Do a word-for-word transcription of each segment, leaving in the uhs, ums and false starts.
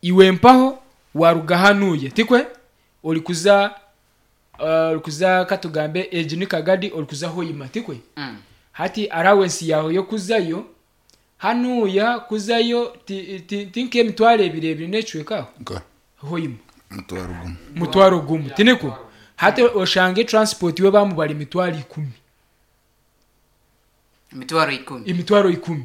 Iwe mpaho waruga hanuya, tikwe? Ori kuza uh, ori kuza katugambe egi ni Kagadi, ori kuza Hoima, tikwe? Mm. Hati allowance yawe yo kuzayo hanuya kuzayo ti, ti, ti nk'emitwaro ebiri ebiri n'ecweka Nka, Hoima. Mutwaro gumu. Mutwaro gumu, tiniko? Hati oshange transport we bamubara emitwaro ikumi. Emitwaro ikumi. Emitwaro ikumi,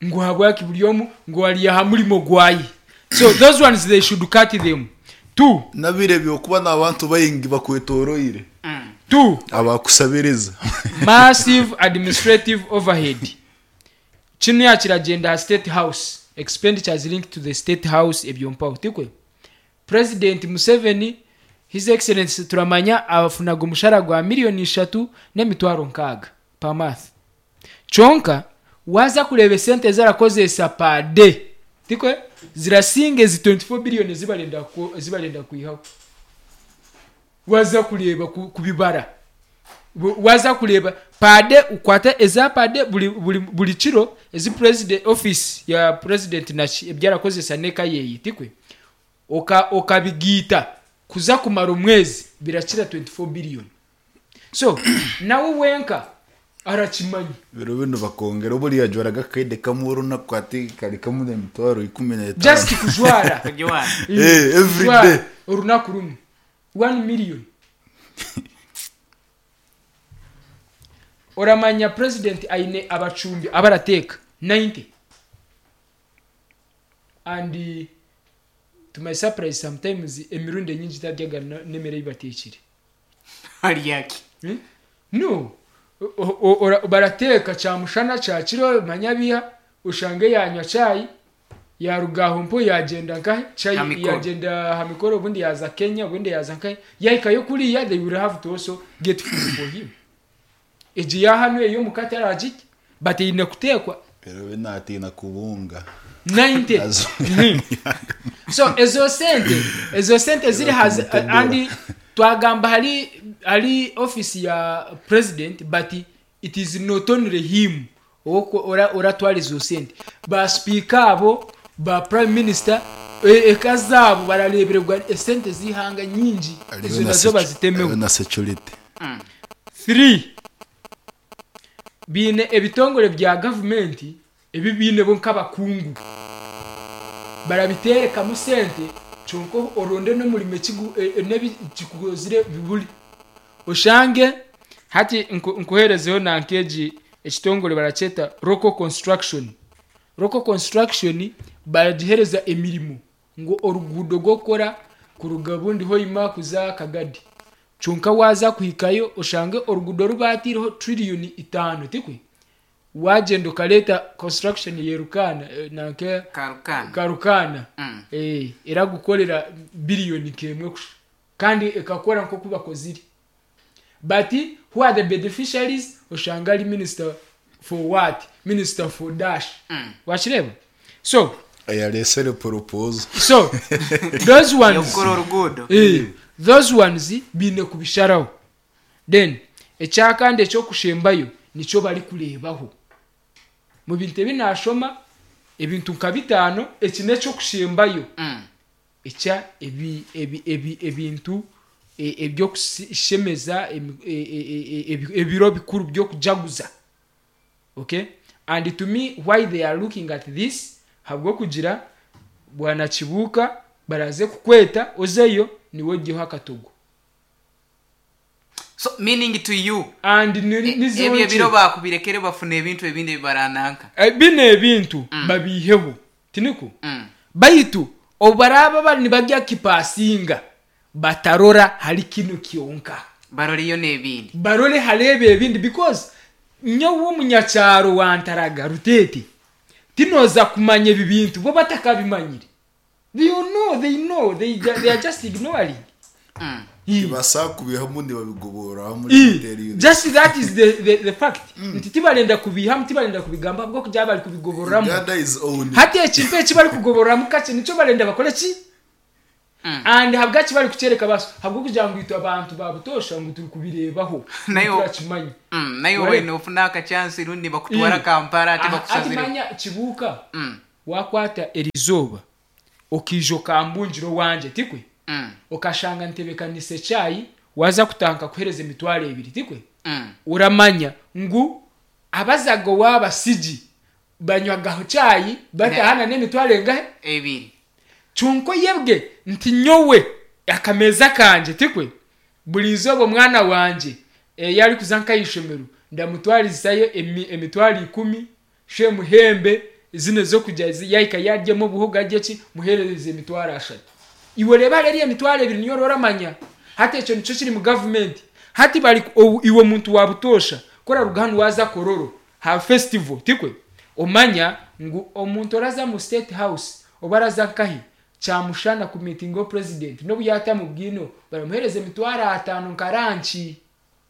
ngu habwaki buri omu ngu ari aha murimo gwaye. So those ones, they should cut them. Two, Nabire byokuba n'abantu baingi bakwetoroire. Mm. Two, Abakusabiriza. Massive administrative overhead. Kino yakiragenda ha State House, expenditures linked to the State House, ebyo mpaho, tikwe? President Museveni, His Excellency, turamanya afunaga omushara gwa miliyoni ishatu n'emitwaro nkaaga per month. Kyonka waza kureeba esente ezarakozesa per day, tikwe, zirasinga ezi twenty-four billion ezibarenda ku- ezibarenda kwihaho. Waza kureeba ku- kubibara, Bu- waza kureeba per day, ukwata eza per day buli, buli, buli kiro ezi president, office ya president naki ebyarakozesa neka yeyi, tikwe? Oka okabigiita kuza kumara omwezi, birakira twenty-four billion. So nawe wenka arakimanya. Biro bino bakongera buriya jwaraga akaide kamwe orunaku, ati kari kamwe n'emitwaro ikumi n'etaano. Just kujwara. Kujwara. Eh, every Kujwara day. Orunaku rumwe one million. Oramanya president aine abacumbi abarateeka ninety, and uh, to my surprise, sometimes emirundi enyingi taryaga n'emere ei bateekire. Haryaki? Hmm? No. O- o- ora- barateeka kyamushana, kyakiro, manya biha ushange yanywa chai, yaruga aho mpo yagenda nkahe chai. Ha mikoro. Yagenda ha mikoro, ubundi yaza Kenya, ubundi yaza nkahe, yahikayo kuriya, they will have to also get food for him. Egi yahano eyo mukate aragirya, but eine kuteekwa. Biro bino atiina kubunga. ninety. Azo- Mhm. So ezo sente ezo sente ziri hazi. Kumutendera. And twagamba hari hari office ya president, but it is not only him owoko- ora oratwara ezo sente. Ba speaker abo, ba prime minister, e- eka zaabo bararebererwa esente z'ihanga nyingi. Hariyo Ezo na nazo secu- bazitemeho. Hariyo na security. Three, biine ebitongore bya gavumenti ebi biine bo nk'abakungu barabiterekamu sente, kyonka oronde n'omurimo ekigu- e- e- n'ebi kikukozire biburi. Oshange hati nku- nkuherezeho nankeegi ekitongore barakyeta Local Construction. Local Construction baragihereza emirimo ngu oruguudo rw'okukora kuruga bundi Hoima kuza Kagadi, kyonka waza kuhikayo oshange oruguudo rubatireho triliyoni itaano, tikwe? Wagenda okareta construction yerukana, eh, nanke Karukana. Karukana. Mm. eh, eragukorera biliyoni kemwe kusha kandi ekakora nkoku bakozire. But who are the beneficiaries? Oshanga ari minister for what, minister for dash. Mm. Wakireba? So Ayaresere proposal. So those ones Yokukora oruguudo. Eh, those ones biine kubisharaho. Then ekyakandi ekyokushembayo nikyo bari kureebaho mu bintu ebi nashoma, ebintu nka bitaano, eki nekyokushembayo. Mm. Ekya ebi ebi ebi ebintu e- ebyokushemeza emi- e- e- e- e- ebiro bikuru byokujaguza, okay? And to me, why they are looking at this, habwokugira bwana Kibuuka baraze kukweta ozeyo niwe ojjeho akatogo. So meaning to you, And ni- e- nizo ebyo nki- ebiro bakubirekere bafuna ebintu ebindi ebibarananka. Eh, bino ebintu babiiheho, tiniko? Mm. Baitu obu baraba bari nibajya kipasinga, batarora hari kino kyonka. Baroleyo n'ebindi. Barore harebe ebindi, because nyowe omunyakyaro wantaraga Rutete tinoza kumanya ebi bintu bo batakabimanyire. They know, they know, they, they are just ignoring. Mm. Tibasa kubihamu, ntibabigobora muri I, miteri. Just that is the, the, the fact nti tibarenda kubihamu, tibarenda kubigamba bwo kujya bari kubigoboramu. Uganda is own. Hati ekintu eki bari kugoboramu kakye nicyo barenda bakore ki. Mm. And habwaki bari kukyereka baso? Habwokugira ngu itwe abantu babutosha ngu turi kubirebaho, Nayo- turakimanya. Mm, naye Wale- wena ofuna akachansi rundi bakutwara I. Kampala ate Ah, ati bakusazire. manya Kibuuka, Mm. wakwata erizooba Okiija okambungira owangye, tikwe? Mm. Okashanga ntebekanisa ekyayi, waza kutanka kuhereza emitwaro ebiri, tikwe? Mm. Uramanya ngu abazaga owabasigi banywagaho cyayi batahana n'emitwaro engahe? Ebiri. Kyonka yebwe nti nyowe akameza kanje, tikwe, buri izooba omwana wanje eh, yari kuza nk'aishomero ndamutwarizayo emi- emitwaro ikumi, she muhembe zino zokujya zi- yahika yaryemo obuhogo arye ki, muherereze emitwaro ashatu. Iwe reba rero emitwaro ebiri niyo oramanya. Hati ekyo nikyo kiri mu gavumenti. Hati bari obu- iwe muntu wabutosha kora ruga hanu waza Kororo ha festival, tikwe, omanya ngu omuntu oraza mu State House oba araza nkahi kyamushana ku meeting o president, nobu yata mu bwino baramuhereza emitwaro atano nka lunch,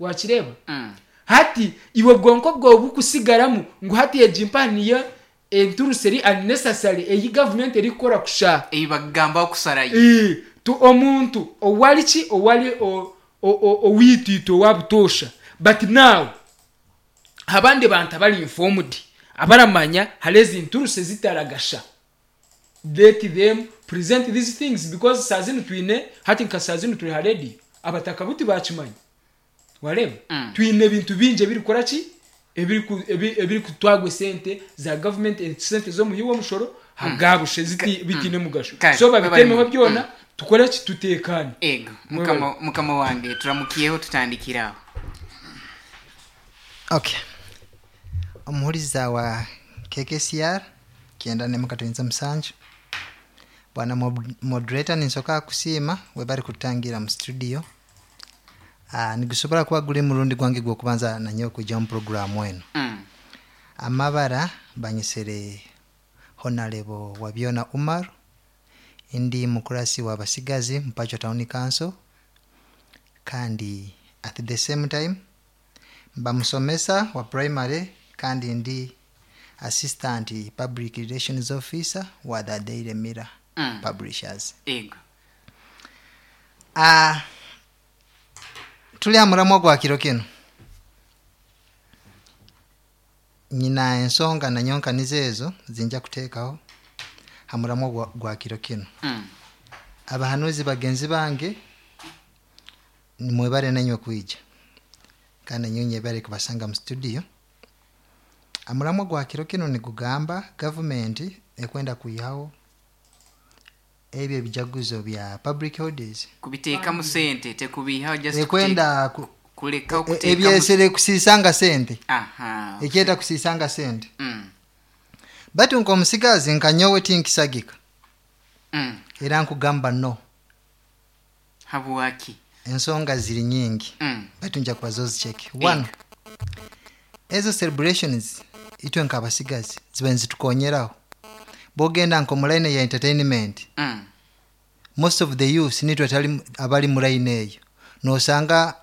wakireba? Mm. Hati iwe bwonko bwawe bukusigaramu ngu hati egi mpaniyo enturusi eri unnecessary eyi gavumenti erikukora kusha. Eyi bagamba okusarayo. Ee, tu omuntu owali ki, owali o- o- o- owitwitwe owabutosha. But now abandi bantu abari informed abaramanya hari ezi nturusi ezitaragasha, let them present these things, because saa zinu twine, hati nka saa zinu turi ha radio, abataka buti bakimanya, wareba? Mm. Twine ebintu bingi ebirikora ki, ebiri ebiri kutwagwa esente za government, esente z'omuhi w'omushoro hagabushe ziti bitine mugasho. Kale, so babitemeho webale. byona, tukore ki, tutekane. Ego, mukama mukama wange, turamukiyeho, tutandikiraho. Okay, omuhuriza wa K K C R kyenda nemu katonyeza musanju, bwana mod- moderator, ninsoka kusiima webali kutangira mu studio. uh, nigusobola kuba guli murundi gwange gwokubanza nanyowe kwijja mu programu eno. Mm. Amabara banyisire Honorable Wabyona Umar, ndi mukurasi wa basigazi Mpacho Town Council, kandi at the same time mba musomesa wa primary, kandi ndi assistant public relations officer wa the Daily Mirror Mm. Publishers. Ego. Ah, tuli amuramwa gwa kiro kino, nyina ensonga nanyonkaniza ezo zinja kuteekaho hamuramwa gwa, gwa kiro kino. Mm. Abahanuzi bagenzi bange, mwebale nanywe kwija, kandi nanyowe nyebale kubasanga mu studio. Amuramwa gwa kiro kino nigugamba gavumenti ekwenda kwihaho ebyo ebijaguzo bya public holidays. Kubiteekamu sente, tekubiihaho, just Ekwenda ku- kuleka e- okuteekamu. Ebyesere kusiisanga sente. Aha. Ekyeta kusiisanga sente. Mm. Batu nk'omusigazi nkanyowe tinkisagika. Mm. Era nkugamba no. Habwaki? Ensonga ziri nyingi. Mm. Batu nja kubaza ozicheke. One, ezo celebrations itwe nk'abasigazi ziba nzitukonyeraho, bwogenda nko mu line ya entertainment, Mm. most of the youth nitwe tali abali mu line eyo, nosanga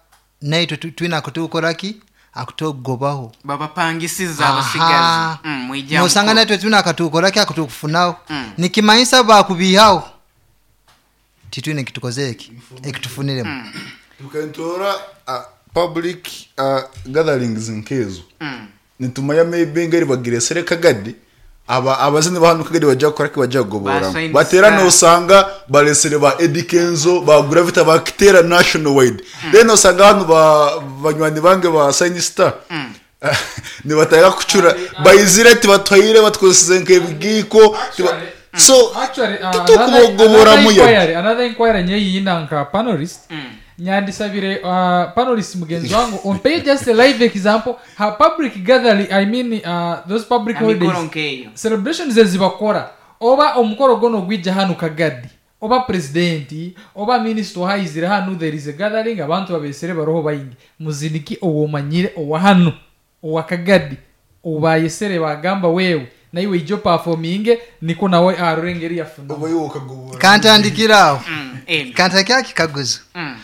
naitwe tu- twina akutukoraki akutogobaho. Babapangisiza Aha. abasigazi. Mm, mwija Nosanga mukuru. naitwe twina akatukoraki akutukufunaho. Mm. Nikimanyisa bakubihaho titwine ekitukoze eki ekitufuniremu. Mm. Tukantora uh, public uh, gatherings nkezo, Mm. nitumanya maybe ngeri bagiresere Kagadi, aba abazini bahano Kagadi bajja kukora ki, bajja kugobora. Ba Batera Star. Nosanga baresere ba Eddie Kenzo, ba Gravity, bakitera national wide. Then osanga hano ba banywani bange ba Shine Star Mm. nibataka kucura bayizire tibatwayire batwosize nk'ebigiko tiba- so Actually, uh, tutukubogobora another muya. inquiry, another inquiry nyeyiyina nka panelist. Mm. Nyandisabire uh, panelist mugenzi wangu ompe just a live example ha public gathering, I mean, uh, those public Amikoro holidays nkeyo. celebrations ezibakora, oba omukoro gono gwija hano Kagadi, oba presidenti oba minisita ohaizire hano, there is a gathering, abantu babesere baroho baingi, muziniki owomanyire owa hano owa Kagadi obayesere bagamba wewe naiwe ijo performinge, niko nawe arore engeri yafuna. Oba iwe okagobora. Kantandikiraho. Mm. Ego. Kantandikiraho kikaguzo. Mm.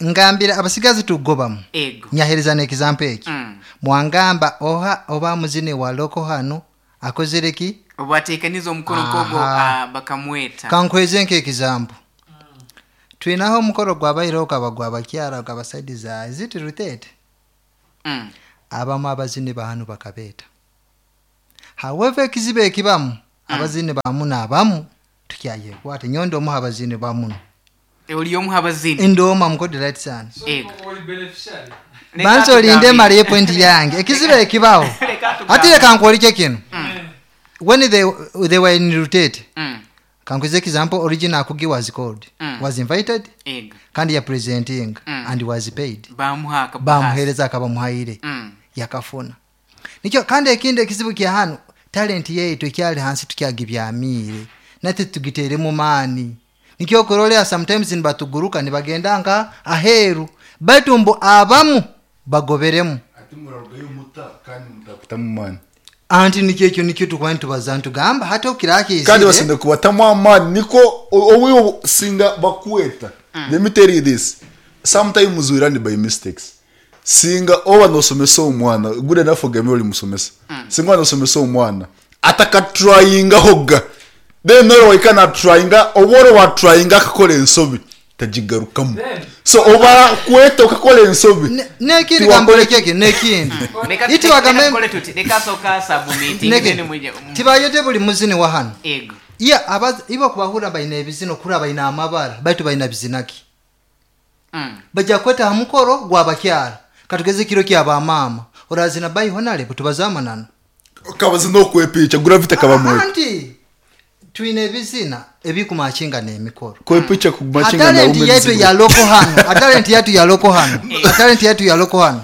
Ngambira abasigazi tugobamu. Ego. Nyahereza n'example eki. Mm. Mwangamba oha oba muzini wa loko hano akozere ki? Obateekaniza omukono kogo. Aha. uh, bakamweta. Kankweze nk'example, twinaho omukoro gwabaireho gaba gwabakyara gaba side za ziti rutete. Mm. Abamu abazini bahanu bakabeeta, however ekizibu ekibamu, abazini bamu n'abamu Tukyayekwata nyondo omuha abazini bamuno. Oli omu habazini. Ndoma mukodi right sana. Ego. Oli beneficiary. Leka Banza olinde tugambe. maliye point yange. Ekizibu ekibaho. Leka tugambe. Ati leka nkuolike kino. When they, they were in rotate. Mm. Kankuze example original Akugi was called. Mm. Was invited Ego. kandi ya presenting Mm. and was paid. Bamuha akabahasi. Bamuhereza akabamuhaire. Mm. Yakafuna. Nikyo kandi ekindi ekizibu kya hano talent yaitu ekyali hansi tukyagibyamiire nate tugitere mu maani. Nikyo okurolea sometimes nibatuguruka nibagenda nka aheru baitu mbu abamu bagoberemu. Ati murarugayo muta kandi mutakutamu maani. Anti nikyo ekyo nikyo tukuba nitubaza ntugamba hata okirakizire. Kandi basinde kubatamu amaani niko owiyo singa bakweta. Let me tell you this. Sometimes we run by mistakes. Singa oba nosomesa omwana good enough ogame oli musomesa. Singa nosomesa omwana ataka tryinga hoga. Then noro waikana tryinga oboro wa tryinga akakola ensobi tagigarukamu. Then- So oba kweta okakola ensobi. Ne- nekindi Tiwakole- kambolekeke nekindi. Leka Iti leka wagambe tukole tuti. Leka soka submit. Neke- Then mwije. Mm. tibayote buli muzini wa hano. Ego. Iya abazi ibo kubahura baina ebizino kura baina amabara baitu baina bizinaki. Mm. Bajja kweta ha mukoro gwabakyala katugeze kiro kyabamama orazina bayi honale butubazamanano. Kabazi no kwepicha gravity kabamwe. Anti twine ebizina ebikumakinga n'emikoro. Kwepicha kumachinga na Atalenti ume yetu ya loko hano, atalenti yetu ya loko hano, atalenti yetu ya loko hano.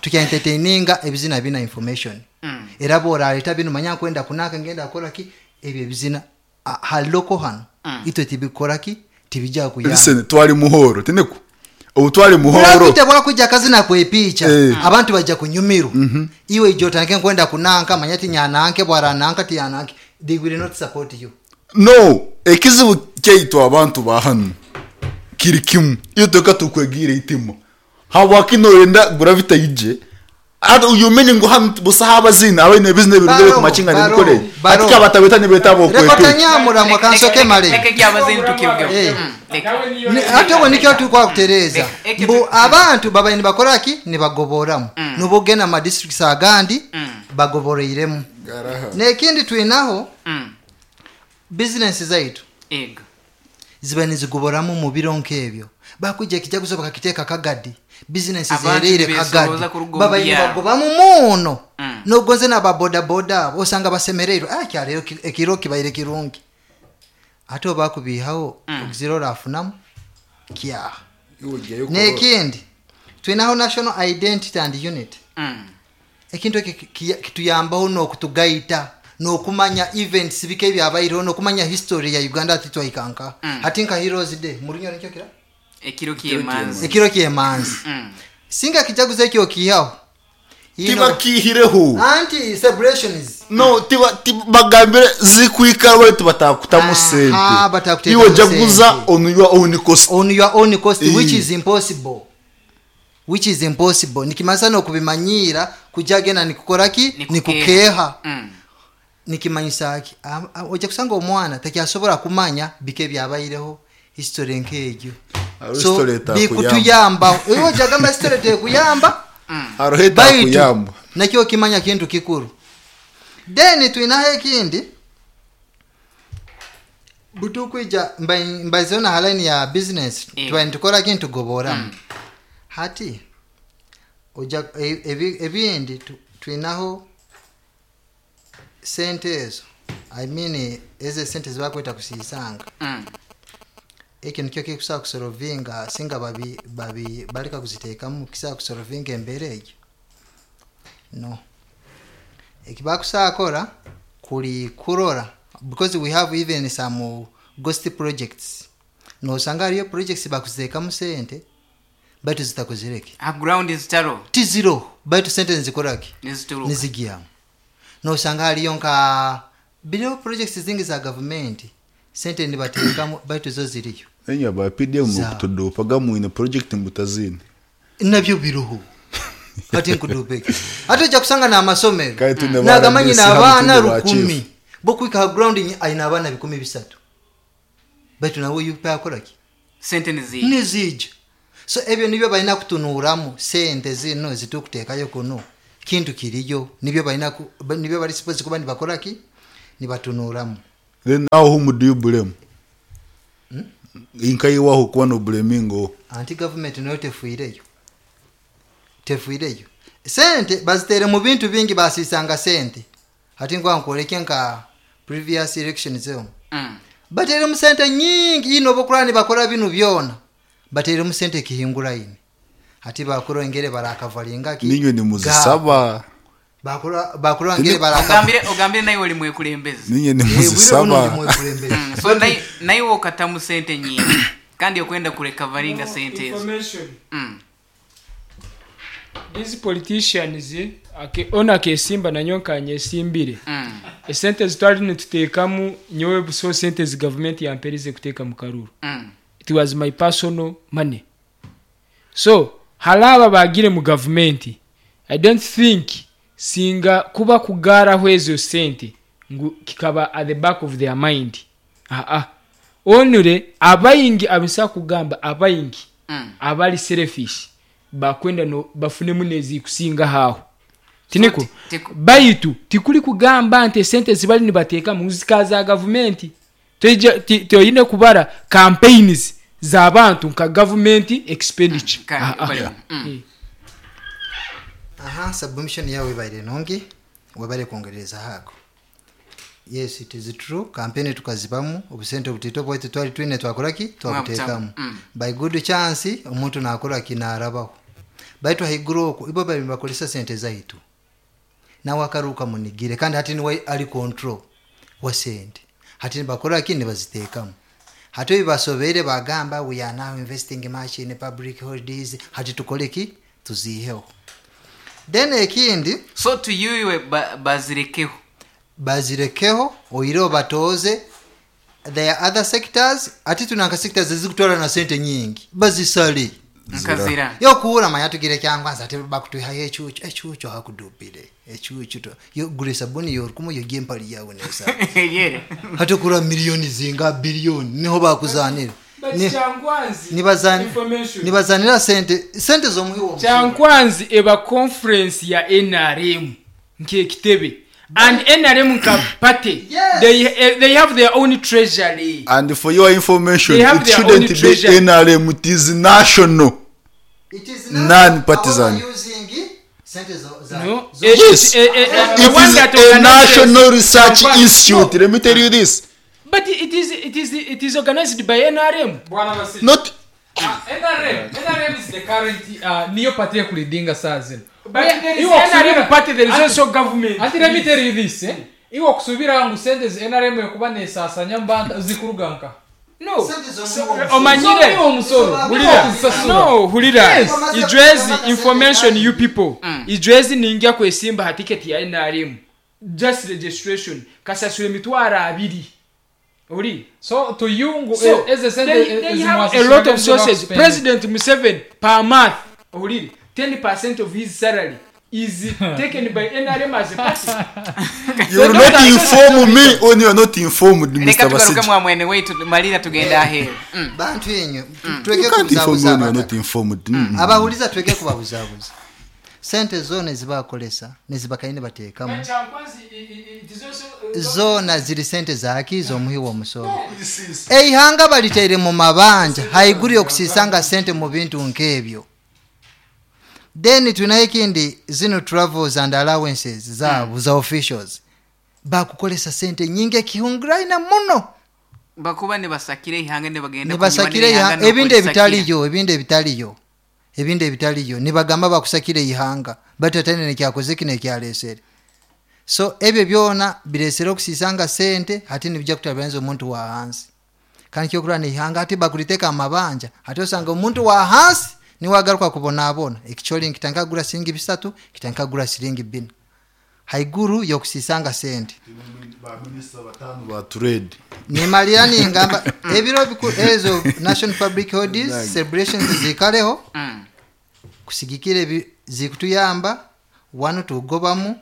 Tukya entertaininga ebizina bina information. Mm. Era boraleta bino manya kwenda kunaka ngenda kola ki ebyo ebizina a- ha loko hano. Itwe tibikora ki tibijja kuyamba. Listen, twali muhoro tineko. Obu twali muhoro. Urafite bwakujja kazina kwepicha Eh. abantu bajja kunyumirwa. Iwe ijo tanke kwenda kunanka manya ti nyananke bwarananka ti yananke they will not support you. No, ekizibu kyaitu abantu ba hano kiri kimu. Iyo toka tukwegire itima. Habwaki noyenda gravity yije. Ado uyu menye ngo hano busa habazina abaine business birugere Baroho, ku machinga baroho, n'imikore. baroho. Ati kabatabeta nibetabo Reka kwepi. tanyamura mwakansoke male. Leka kyabazini tukivuge. Eh. Mm. Leka. Nawe niyo Ni- ate obwo nikyo tukwa kutereeza. Eke- Mbu abantu babaye nibakoraki nibagoboramu. Nubugenda mu districts agandi bagoboreiremu. Nekindi twinaho Mm. business zaitu Ego. ziba nizigoboramu mu biro nk'ebyo. Bakujja ekijaguzo bakakiteeka kagadi. Business Abantu zereire beesoroza kagadi. ku rugo Babaye byabo. nibagobamu muno. Mm. Nogonze n'ababodaboda abo osanga basemereirwe. Ah kyaleero ki- ekiro kibaire kirungi. Ate oba kubihawo ogizira orafunamu kyaha. Nekindi twinaho national identity and unity. Mm. Ekintu ekyo ki- ki- kituyambaho n'okutugaita n'okumanya events bika ebyabaireho n'okumanya history ya Uganda ati twaikanka. Ati nka Heroes Day mu Runyoro nikyo kira? Ekiro ky'emanzi. Ekiro ky'emanzi. Mm. Singa kijaguzo ekyo okiihaho. Ino- Tibakihireho. Anti celebrations. No, tiba tiba- bagambire zikwikara baitu batakutamu Aha, sente. batakutekamu Iwe jaguza sente. on your own cost. On your own cost Eh. which is impossible. Which is impossible. Nikimasa n'okubimanyira kujja genda nikukora ki? Nikukeha. Nikukeha. Mm. Nikimanyisa ki? Am- am- ojja kusanga omwana tekyasobola kumanya bika ebyabaireho history nk'egyo. Hariho So, history etakuyamba. bikutuyamba. Iwe ojja gamba history tekuyamba. Hariho Baitu etakuyamba. nakyo kimanya kintu kikuru. Then twinaho ekindi butukwija mba- mbaizeho na line ya business Eh. tuba nitukora kintu tugoboramu. Hati ojja e- ebi- ebindi tu- twinaho sente ezo I mean ezo sente zibakweta kusiisanga. Mm. Ekyo nikyo kikusobola kusolovinga singa babi babi baleka kuziteekamu kisobola kusolovinga embeera egyo. No. Ekibakusobola kuli kurora because we have even some ghost projects. Nosanga hariyo projects bakuziteekamu sente baitu zitakozireke. Ha ground zitaro. Tiziro baitu sente nizikoraki? Nizituruka. Nizigyamu. Nosanga hariyo nka biriho projects zingi za gavumenti sente nibateekamu baitu zo ziriyo. Enya ba P D M Za. kutudopaga mwine project mbutazini. Nabyo biruhu. Ati nkudupeke. Ate ojja kusanga n'amasomero. Kale tune Nagamanyi ba R D C, n'abaana hamwe tune ba lukumi. chief. Bokwika ground nyi ayina abaana bikumi bisatu. Baitu nawe yupe akola ki? Sente nizija. Nizija. So ebyo nibyo balina kutunuuramu sente zino zitukuteekayo kuno. Kintu kiriyo nibyo balina ku, nibyo bali supposed kuba nibakola ki? Nibatunuuramu. Then now whom do you blame? Inkaiwaho kuba no blamingo. Anti gavumenti nayo tefuireyo, tefuireyo. Sente bazitere mu bintu bingi, basisanga sente. Hati ngwa nkwoleke nka previous elections eyo. Mm. Bateremu sente nyingi ino bokurani bakora binu byona, bateremu sente kihingura ine. Hati bakora ngere barakavalinga ki Ninywe ni muzisaba. Bakora bakora ngere baraka Ogambire ogambire naye oli mwekulembezi. Ninye ni Eh, muzisaba. bwire buno ndi mwekulembezi. Mm. So naye naye okatamu sente nyingi kandi okwenda kurekavalinga sente ezo. Information. Mm. These politicians ake ona akesimba nanyo nkanyesimbire. Mm. Esente zitwali nituteekamu nyowe buso sente zi government yamperize kuteeka mu karuru. Mm. It was my personal money. So halaba bagire mu government, I don't think singa kuba kugaraho ezo sente ngu kikaba at the back of their mind. Ah ah. Onure abayingi abisa kugamba abayingi Mm. abali selfish bakwenda no bafunemu nezikusinga haho. Tiniko So, tiku- baitu tikuli kugamba nti sente zibali nibateeka mu zika za gavumenti. Toyija- ti- toyine kubara campaigns z'abantu nka government expenditure. Ka- Ah, ah. bali- Mm. Eh. Aha, submission yawe ibaire nungi, webale kwongereza hako. Yes, it is true. Campaign tukazibamu obusente obutito bwaitu twali twine twakora ki twabuteekamu. Mm. By good chance omuntu nakora ki narabaho. Baitu haiguru okwo ibo bali bakolesa sente zaitu. Nawe akaruka munigire kandi hati niwe ali control wa sente. Hati nibakora ki nibaziteekamu. Hati bibasobeire bagamba we are now investing much in public holidays, hati tukole ki tuziheho. Then ekindi So to you iwe ba, bazirekeho. bazirekeho oire obatoze. There are other sectors ati tunanka sectors ezikutwala na sente nyingi bazisale Nkazira. yokuura manya tugire kyangwanza ati bakutwihayo ekyucu ekyucu hakudupire ekyucu to yo gure sabuni yorukumu yogiye empali yawe nesa Yere. hati okura miliyoni zinga biliyoni niho bakuzanira But Ni- Kyankwanzi, nibazani- information. nibazanira sente sente z'omuhi w'omusoro. Kyankwanzi eba conference ya N R M nk'ekitebe and N R M nka party. Yes. They, eh, they have their own treasury. And for your information, They have it their own shouldn't be treasury. N R M, it is national. It is Non-partisan. Our using sente zo- za- No. zo- Eh, Yes. eh, eh, eh, the It one is that a organizes national research Kyankwanzi. institute. No. Let me tell you this. But it is, it is, it is organized by N R M. Bwana Basili. Not Ah, N R M. N R M is the current, uh, niyo party ekulidinga saa zino. But there is Iwe N R M okusubira- party, there is Ati- also government. Ati let me tell you this, eh? Iwe okusubira ngu sente zi N R M ekuba nesasanya mbanta zikuruga nka. No. Sente So, z'omuwi w'omusoro. omanyire. Z'omuwi w'omusoro. Hulira. Okuzisasula. No, hulira. Yes. Ijwezi information you people. Ijwezi ninja kwesimba ha ticket ya N R M. Just registration. Kasasula emitwaro abiri. Ori. So to you ngu So, e- eze sente they, e- they ezimu have a asasula lot of nizo sources. bakuspend. President Museveni per month, ori, ten percent of his salary is taken by N R M as a party. You will not inform me when you are not informed, Reka Mister tugaruke Basigi. mwa mwene weitu malira tugenda aheru. Mm. Bantu enyo, You tweke can't inform me kubuzabuza when you are not abataka. informed. Mm. Abahuliza tweke kubabuzabuza. Sente zona ezibakolesa nezibakaine bateekamu. Zona ziri sente zaki z'omuhi w'omusoro. Eihanga baliteire mu mabanja haiguru yokusisanga sente mu bintu nk'ebyo. Then tunayo ekindi zino travels and allowances zaabo za officials. Bakukolesa sente nyingi ekihunguraina muno. Bakuba nibasakira ihanga nibagenda Nibasakira kunywa ihanga, n'ihanga ebintu n'okulisakira. ebitaliyo, ebintu ebitaliyo. Ebintu ebitaliyo. Nibagamba bakusakira ihanga. Batatane nekyakoze kino ekyalesere. So ebyo byona biresere okusisanga sente ate nibijja kutabanza omuntu wa hansi. Kandi kyokurana ihanga ate bakuliteka amabanja ate osanga omuntu wa hansi niwagaruka kubonaabona. Ekicholi nkitanka gura siringi bisatu, kitanka gura siringi bina. Haiguru yokusisanga sente. Ba trade. Nimalira ningamba ebiro biku ezo National Public Holidays celebrations zikaleho. Mm. Kusigikire bi-, zikutuyamba wano tugobamu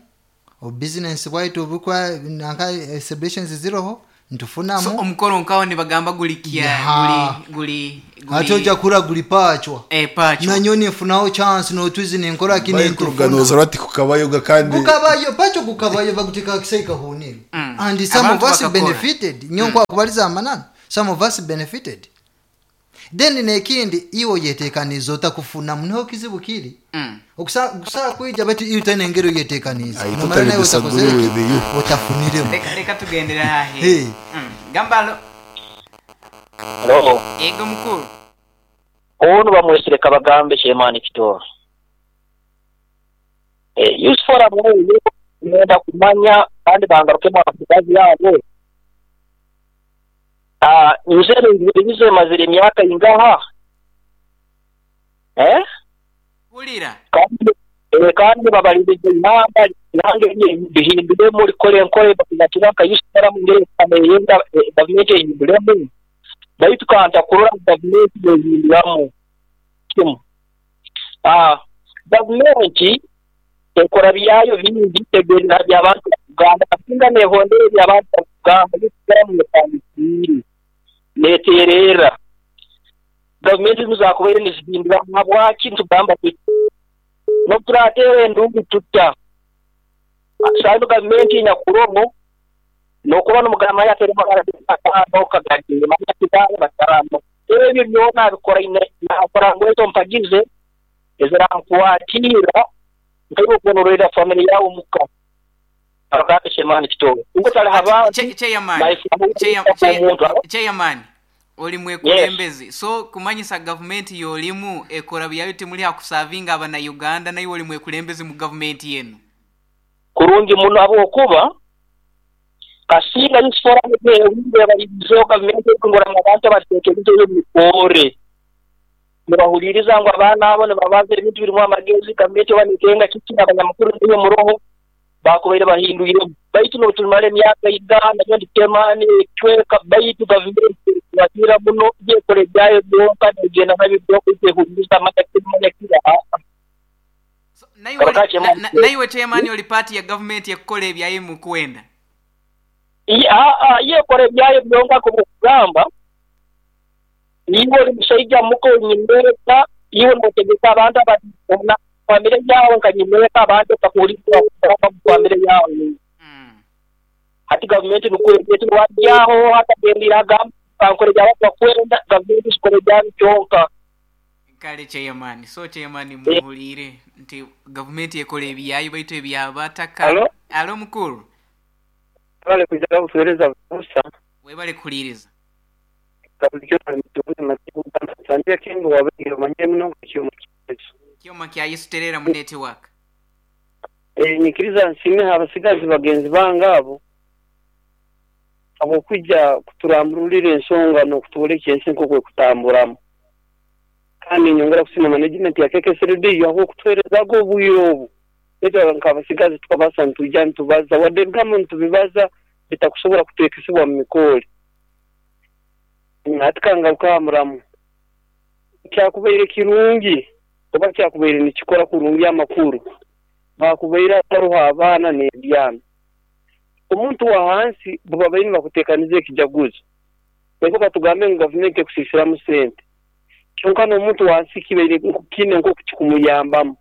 o business bwaitu obukwa nanka, eh, celebrations ziroho ntufunamu. So omukoro nkawo nibagamba guli kya, Ya. guli, guli, guli. Ate ojja kura guli pachwa. Eh, pachwa. Nanyo nifunaho chance n'otuzi ninkora kini Bayikuruga ntufuna. noza rati kukabayoga kandi. Kukabayo, pacho kukabayo bakutika kisaika huniro. Mm. And some Abantu of us bakakora. benefited. Nyo kwa kubaliza amanana. Some of us benefited. Then nekindi, iwe oyetekaniza otakufuna niho kizibu kiri. Mm. Okusa kusaba kwija, baitu iwe utaine engeri oyetekaniza. I Nomara totally nawe disagree utakozere with you. otafuniremu. Reka reka tugendera hahe. Hey. Mm. Gambalo. Hello. Ego mukuru. Ono bamwesire kabagambe Shemani Kitoro. Eh, Youth Forum oyo ngenda kumanya kandi bangarukemo abasigazi yabo. Ah, nzere ngize mazire emyaka ingaha. Eh? Hulira. Kandi eh, kandi babalirize inamba nange bihindure muri kore nkore bakira ka Youth Forum ngere kameyenda gavumenti ehinduremu. Baitu kanta kurora gavumenti ehinduramu. Kimu. Ah, gavumenti ekora byayo bingi tegerera by'abantu Uganda singa nehondere by'abantu Uganda bikora mu tandikiri neterera gavumenti muzakubaire nizihindura habwaki ntugamba no turatere endungu tutta sano gavumenti nyakuromo nokuba n'omugamba yatere magana okagagire manya bataramo ebyo byona bikora ine nakora ngweto mpagize ezirankwatira nkayo kunorera family yawo muka akake Shemani Kitoro ngo tali haba Chairman Chairman oli mwekulembezi so kumanyisa government yolimu ekora byayo timuli hakusavinga abana Uganda nayo oli mwekulembezi mu government yenu kurungi muno abo kuba kasinga Youth Forum ye balizo government kungora abantu batekereza yo mikore nibahuliriza ngo abana abo nibabaza ebintu birimu amagezi gavumenti banitenga kiki abanyamakuru niyo muroho bakubaire bahindwire baitu n'otumara emyaka igana nyo nditemani chweka baitu gavumenti watira muno byekore byayo byonka negenda nabyo kwehuliriza amata kira. Naiwe chairman oli party ya government yakukola ebyayo mu kwenda iya yekore ebyayo byonka kubugamba niwe oli mushaija muko nyimereka iwe notegeka abantu abana famire yawe nkanyimereka abantu bakuhuliriza famire yawe. Hati gavumenti nukwete wajyaho hatagendera gamba bankore byaba bakwenda gavumenti sikore byaba kyonka. Kale chairman so chairman muhulire nti gavumenti ekole ebyayo baitu ebyabataka. Alo alo mukuru bale kujaga kutueleza busa webale kuliriza kyoma kya Yesu terera mu network. Eh nikiriza nsime abasigazi bagenzi bangabo abo kujja kuturamburira ensonga no kutuleka ensi nkokwe kutamburamu kandi nyongera kusima management ya K K S R D yaho kutwereza go buyobu eto nkabasigazi tukabasa ntujja ntubaza wadde gamu ntubibaza bitakusobola kutekesebwa mu mikole natikanga ukamuramu kyakubaire kirungi oba kyakubaire nikikora kurungi amakuru bakubaira taruha abaana n'ebyana omuntu wa hansi buba baine bakutekanize ekijaguzo beko katugambe ngu gavumenti ekusisiramu sente kyonka n'omuntu wa hansi kibaire kine nko kukikumuyambamu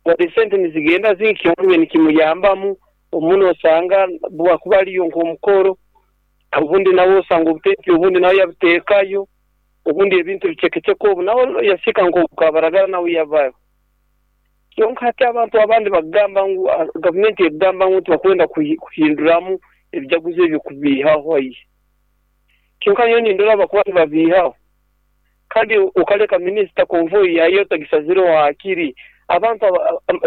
wadde sente nizigenda zinki nikimuyambamu omuntu osanga bwakuba aliyo nk'omukoro obundi nawe osanga obuteki obundi nawe yabuteekayo obundi ebintu bicekeceko obu nawe yasika nk'obukabaragara nawe yavayo kyonka hati abantu abandi bagamba ngu gavumenti egamba ngu tibakwenda kuhinduramu ebijaguzo ebyo kubiihaho ayi kyonka niyo nindora bakuba tibabiihaho kandi okaleka minisita konvoyi yayo tagisazire hakiri abantu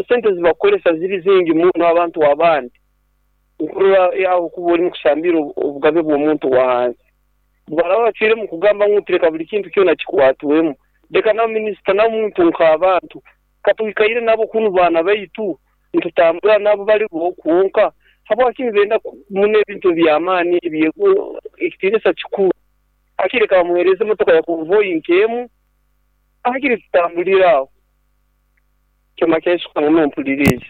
sente zibakoresa ziri zingi muno abantu abandi nkurura yaho kuba oli mukusambira obugabe bw'omuntu wa hansi baraba bakire mu kugamba ngu tureka buli kintu kyona kikwatwemu leka na minisita na muntu nk'abantu katwikaire nabo kunu baana baitu ntutambura nabo bali bokwonka habwaki benda mune ebintu by'amaani ekitiinisa kikuru akireka bamuhereze emotoka ya konvoyi nkemu akiri tutambulira aho kyoma kyesuka muno mpulirize.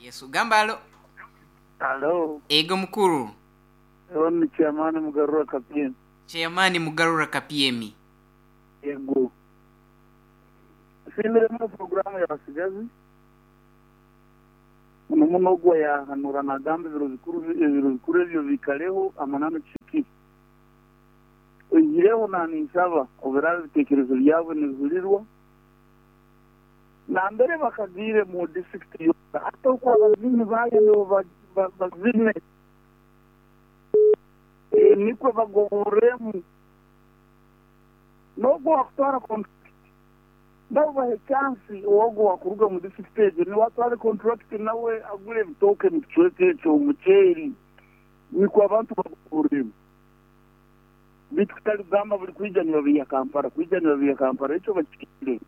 Yesu gambalo. Alo. Ego mukuru. Ni chairman Mugarura Kapiem. Chairman Mugarura Kapiemi. Yego. Simire mu programu ya basigazi. Muno muno gwa ya hanura nagamba ebiro bikuru ebiro bikuru ebyo bikaleho amanano kiki. Oihireho naninsaba obiraba ebiteekerezo byabwe nibihulirwa nambere bakagiire mu district yona hata okwo abazini bayo nibo bazine nikwo bagoboremu n'ogwo wakutwara contract nabo bahe chance ogwo wakuruga mu district egyo niwe atware contract nawe agure ebitooke mu kicweka ekyo omuceeri nikwo abantu bagoboremu bitu kutali kugamba buli kwija nibabiiha Kampala kwija nibabiiha Kampala ekyo bakikire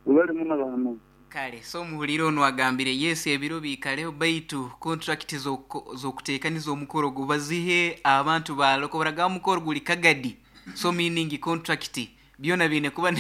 bali muno bahanuzi. Kale so muhuliro ono agambire yes ebiro biikaleho baitu contract z'okuteekaniza omukoro gubazihe abantu baloko baragamba omukoro guli Kagadi so meaning contract byona biine kuba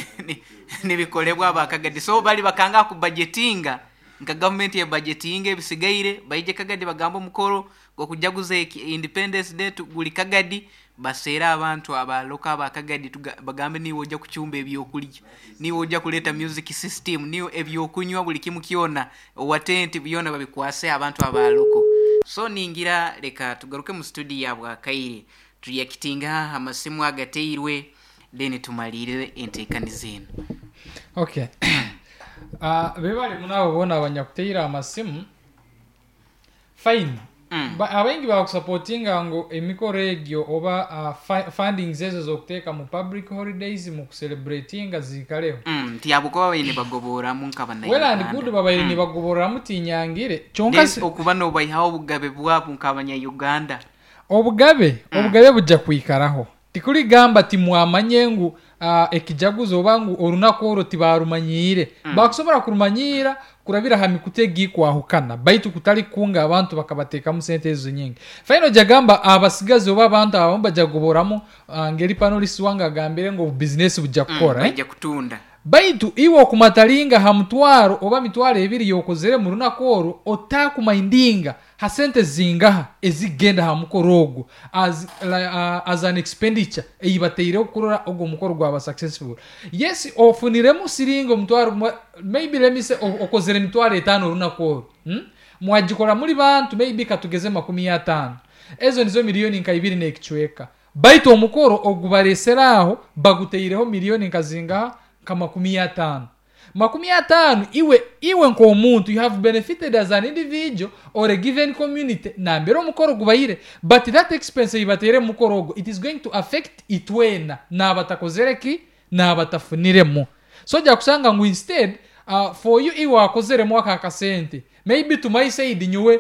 nibikolebwa abakagadi so bali bakanga ku budgetinga nka government ya budgetinga ebisigaire baije Kagadi bagamba omukoro gwokujaguza Independence Day guli Kagadi baseera abantu abaloka abakagadi bagambe niwe ojja kuchumba ebyokulya niwe ojja kuleta music system niwe ebyokunywa buli kimu kyona owatenti byona babikwase abantu abaloko. So ningira leka tugaruke mu studio ya Bwakaire tuyakitinga amasimu agateirwe then tumalire entekaniza eno. Okay. Ah uh, bebali munabo bona abanyakuteira amasimu fine. Mm. Ba, abaingi bakusupportinga ngo emikoro egyo oba uh, fundings ezo zokuteeka mu public holidays mu kucelebratinga zikaleho. Mm, tiyabukuba baine bagoboramu nk'abana. Well and good babaire mm. nibagoboramu tinyangire. Kyonka okuba nobayihaho obugabe bwabo nk'abanya Uganda. Obugabe, mm. obugabe bujja kwikaraho. Tikuligamba timwamanye ngu uh, ekijaguzo oba ngu orunaku orwo tibarumanyire. Mm. Bakusobora kurumanyira kurabira ha mikutu egikwahukana baitu kutali kunga abantu bakabateekamu sente ezo nyingi. Faino jagamba abasigazi oba abantu abamu bajagoboramu uh, ngeri panelist wange agambire ngu business bujja kukora mm, bajja eh? Kutunda baitu iwe okumatalinga ha mutwaro oba mitwaro ebiri yokozere mu runaku orwo otakumaindinga ha sente zingaha ezigenda ha mukoro ogwo as, uh, as an expenditure eyibateireho kurora ogwo mukoro gwaba successful. Yes ofuniremu siringa omutwaro maybe let me say okozere mitwaro etaano orunaku orwo hmm? Mwagikora muri bantu maybe katugeze makumi ataano ezo nizo miliyoni nka ibiri n'ekicweka baitu omukoro ogubareseraho baguteireho miliyoni nka zingaha nka makumi ataano makumi ataano iwe iwe nk'omuntu you have benefited as an individual or a given community nambere omukoro gubayire but that expense ibatere mukoro ogwo it is going to affect itwena n'abatakozere ki n'abatafuniremu. So ojja kusanga ngu instead uh, for you iwe wakozeremu aka akasente maybe to my side nyowe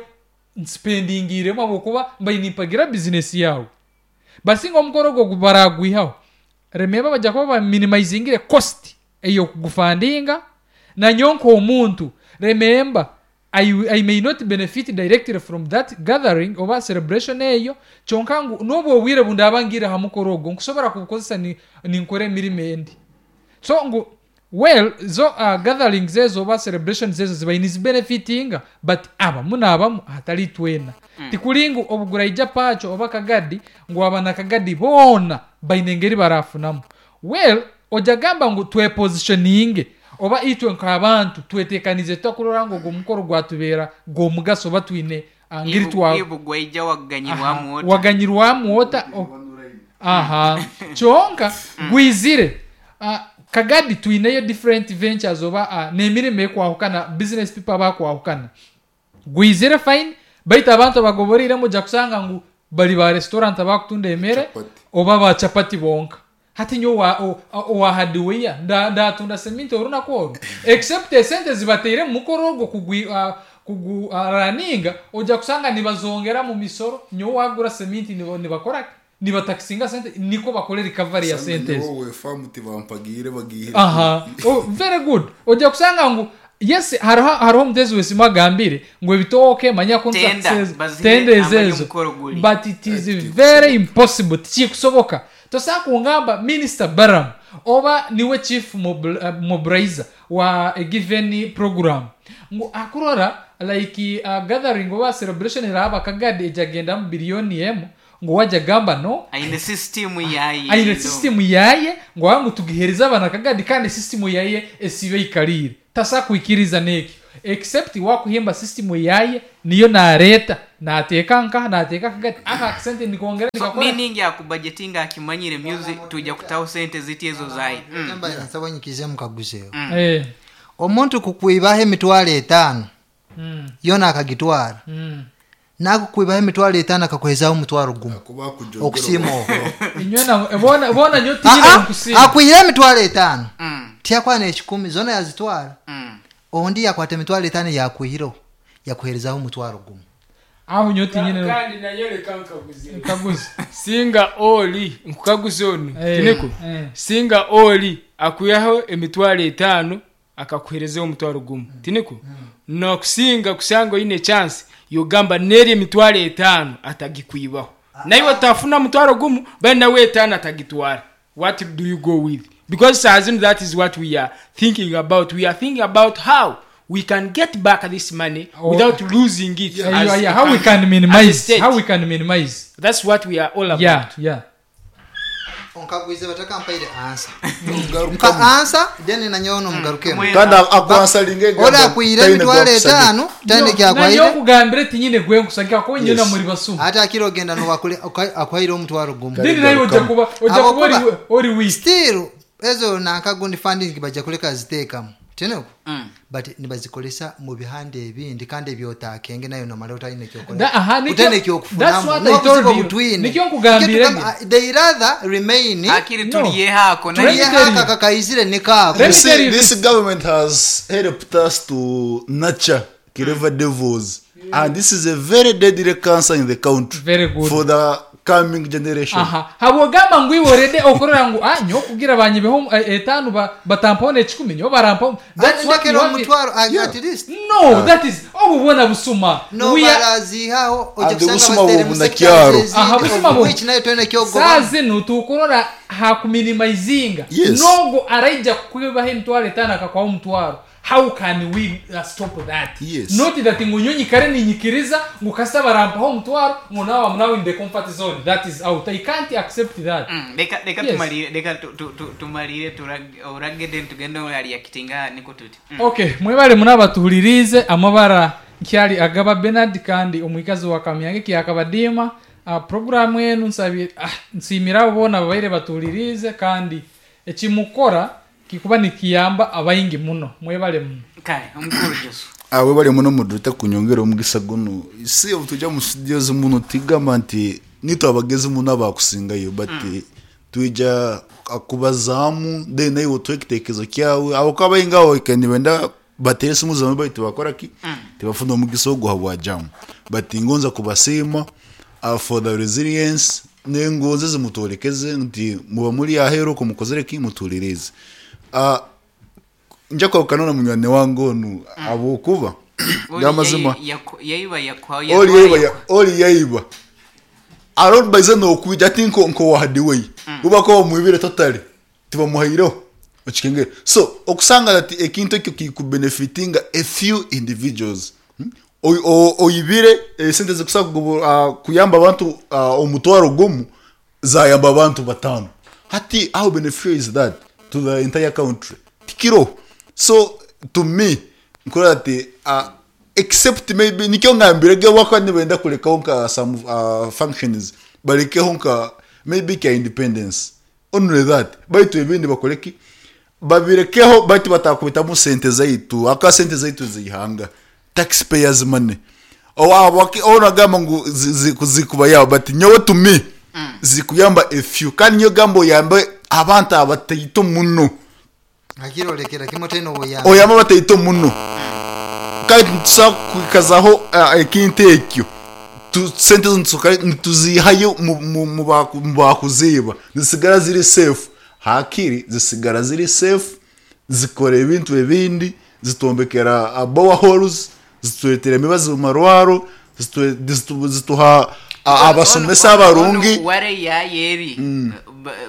nspendingiremu habwokuba mbainimpagira business yawe basinga omukoro ogwo baragwihaho remember bajja kuba baminimizingire cost eyo kugufandinga na nyonko omuntu remember I, I may not benefit directly from that gathering oba celebration eyo kyonka ngu n'obwo obwire bundabangira ha mukoro ogwo nkusobora kubukozesa ni, ninkora emirimo endi so ngu well zo uh, gatherings ezo oba celebrations ezo ziba nizibenefitinga but abamu n'abamu hatali twena. Mm. Tikulingu obuguraija pacho oba Kagadi ngu abana Kagadi boona baine engeri barafunamu. Well ojagamba ngu twepositioninge oba itwe nk'abantu twetekanize tutakurora ngu ogwo mukoro gwatubeera gw'omugaso oba twine ngeri twa ibugwaija waganyirwamu ota waganyirwamu ota aha kyonka gwizire uh, Kagadi twineyo different ventures oba uh, n'emirimo ekwahukana business people abakwahukana gwizire fine baitu abantu abagoboreiremu ojja kusanga ngu bali ba restaurant abakutunda emere oba ba chapati bonka hati nyo owahadiweya ndatunda seminti orunaku orwo except esente zibateire mu mukoro ogwo kugwi uh, kugu uh, raninga ojja kusanga nibazongera mu misoro nyo wagura seminti nibakora nibatakisinga sente niko bakore recovery ya sente wowe famu tibampagire bagihire. Aha oh, very good ojja kusanga ngu yes hariho hariho omutezi wesimu agambire ngu ebitooke manya contract tenda ezezo but it is very impossible tikikusoboka. Tosa kungamba Minister Baram oba niwe chief mobilizer wa a given program ngu akurora like uh, gathering oba celebration eraba Kagadi ejagenda mu biliyoni emu ngo wajya gamba no aine system yaye aine system yaye ngo wangu tugihereza abana Kagadi kandi system yaye esibe ikarire tasa kuikiriza neki Except wakuhimba system yaye niyo nareeta nateeka nkaha nateeka kagati aka akasente nikongera So, nikakora. meaning yakubudgetinga akimanyire music tuja kutaho sente ziti ezo zayi. Mm. Nsaba nyikize mukaguzeho. Eh. Omuntu kukwibaho emitwalo etaano Mm. yona akagitwara. Mm. Nakukwibaho emitwalo etaano akakuhezaho omutwaro gumu okusiima okwo. Inywe na bona bona nyo Ah, tinyine ah, nkusiima. akwihire emitwalo etaano Mm. tiyakwana ekikumi zona yazitwara. Mm. Ondi yakwata emitwalo etaano yakwihireho yakuherezaho omutwaro gumu. Aho nyo tinyine Kandi nayo reka nkaguze. Nkaguze. Singa oli nkukaguze onu. Eh, Tiniko. eh. Singa oli akuyaho emitwalo etaano akakuherezaho omutwaro gumu. Tiniko. Nakusinga kusanga oyine chance yogamba neri emitwalo etaano atagikwibaho. Naye otafuna mutwaro gumu bali nawe etaano atagitwara. What do you go with? Because as that is what we are thinking about. We are thinking about how we can get back this money Oh. without losing it. Yeah, as yeah, yeah. a How we country, can as a minimize, state. how we can minimize. That's what we are all about. Yeah, yeah. Onkaguize batakampaire answer. Nka answer then nanyono mugarukemo. Kandi akwansalinga egamba Ora akwire taine emitwalo gwakusagika. etaano taine Nanyo kyakwahire. okugambire tinyine gwe nkusagika ko nyina muri basuma. Ate akira ogenda nowakule akwaire omutwaro gumu. Then nayo ojja kuba ojja kuba ori ori weak. Still ezo nankagundi funding bajja kuleka ziteekamu. Tineko? Mm. But nibazikolesa mu bihande ebindi kandi ebyotakenge nayo nomala otalina ekyokola. Da- aha, nikyo- Otayina that's ekyokufunamu. what I told N'obuzibu you. obutwine. Nikyo nkugambire Nikyo tugamba, nge. they rather remain. Akiri No. tuliyehaako Let me tell Tuliyehako you. akakaizire nikaako. Let me You see, tell you this this. government has helped us to nurture clever devils, and this is a very deadly cancer in the country. Very good. For the coming generation. Aha habwogamba ngu iwe orede okorora ngu ah nyo kugira banyibeho eh, etaano ba- batampaho n'ekikumi nyo barampaho. That's what Ndekera you want. omutwaro at least. No, that is obu bwona busuma. No We are- barazihaho ojja And kusanga obusuma bazitere mu bwo sector bunakyaro. Aha, busuma ezindi bwo. which nayo toyina ekyogoba. Saa zinu tukurora hakuminimizinga. Yes. Nogo araija kukwibaho emitwaro etaano akakwaho omutwaro. How can we uh, stop that? Yes. Not that ngu nyo nyikare ninyikiriza ngu kasita barampaho omutwaro ngu now I'm now in the comfort zone. That is out. I can't accept that. Mm, leka leka Yes. tumalire leka tu- tu- tu- tumalire turag- oragede tugende ali yakitinga niko tuti. Mm. Okay, mwebale munabatuhulirize amabara nkyali agaba Bernard kandi omwikazi wa Kamyange kyakabadiima. Uh, programu enu nsabye ah, nsiimira abo boona babaire batuhulirize kandi ekimukora kikuba nikiyamba abaingi muno. Mwebale muno. Kale omukuru Josu. Awe bali muno mudute kunyongera omugisa guno. Si tujja mu studios muno tigamba nti nitwe abagezi muno abakusingayo but mm. tuija akubazaamu then naye otuhe ekitekerezo kyawe abo ko abaingi abo nibenda batere esimu zawe baitu bakora ki tibafuna omugisa oguha bwajamu but ngonza kubasiima uh, for the resilience nengonze zimutorekeze nti muba muri aheru ko mukozere ki mutulirize. Uh, nja kwawukana na munywani wange onu ahabwokuba Oli gamazima yayi- yaku- yayiba yakwa oli yaiba ya- oli yaiba arobaize nokwija ati nko nko wahadiwei ubako bamwibire totally tibamuhaireho okikengere. So okusanga ati ekintu ekyo kikubenefitinga a few individuals. Hmm? Oy- o- oyibire esente zikusa uh, kuyamba abantu uh, omutwaro gumu zayamba abantu batano. Hati how beneficial is that to the entire country? Tikiro. So to me nkora ati uh, except maybe nikyo ngambire ge wako nibenda kulekaho nka some uh, functions balekeho nka maybe ka independence only that baitu ebindi bakoleki babirekeho baitu batakubitamu sente zaitu aka sente zaitu zihanga taxpayers money onagamba ngu zikuba yawo but nyowe to me zikuyamba a few kandi nyo gamba oyambe abantu abataito muno akirolekera kimwe teno oyamba oyamba abataito muno kandi nitusobola kwikazaho ekintu ekyo sente nituzihayo mu bakuziba zisigara ziri safe hakiri zisigara ziri safe zikora ebintu ebindi zitombekera boreholes zituletera emibazi mu marwaro zituha A- abasomesa abarungi ware yayeri